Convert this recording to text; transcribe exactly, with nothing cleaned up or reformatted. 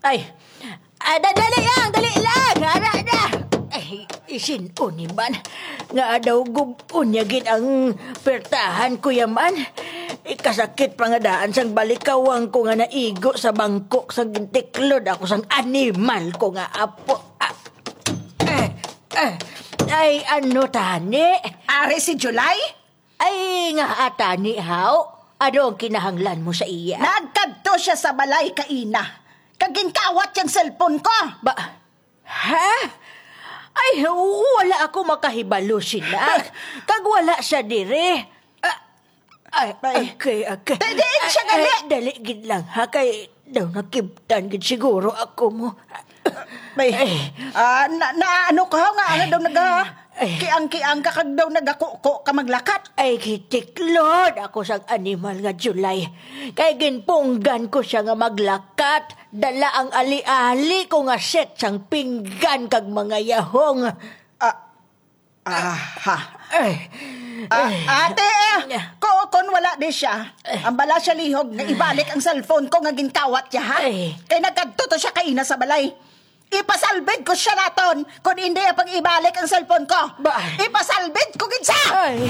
Ay, ah, da- dali lang, dali lang, ara na. Ay, isin-o ni man, nga daw gub-on niya gid ang pertahan ko yaman. Ikasakit pa nga daan sang balikawang ko nga naigo sa bangkok sang gintiklod ako sang animal ko nga apo. Ah, eh, eh, ay, ano tani? Ari si July? Ay, nga atani, haw? Ano ang kinahanglan mo sa iya? Nagkadto siya sa balay kaina, kag ginkawat yang cellphone ko. Ba, ha? Ay, wala ako makahibalo sina. Kag wala siya diri. Ah, ay, Ay. Okay, okay. Di- diin siya Ay, gali? Ay, dali gid lang, ha? Kay daw nakibtan gid siguro ako mo. May, Ay. ah, na, na ano ka nga, ano daw naga, Ay. kiang-kiang ka kag daw nagakuko ka maglakat? Ay, gitiklod ako sang animal nga July. Kay ginpunggan ko siya nga maglakat. Dala ang ali-ali ko nga set sang pinggan kag mga yahong. Ah, aha. Ay. Ah, Ay. ate, eh, ku-, kun wala di siya, ang bala siya lihog nga ibalik ang cellphone ko nga ginkawat niya, ha? Ay. Kay nagkadto to siya kaina sa balay. Ipasalbid ko siya naton, kun hindi ang pag-ibalik ang cellphone ko. Ba? Ipasalbid ko gid siya! Ay.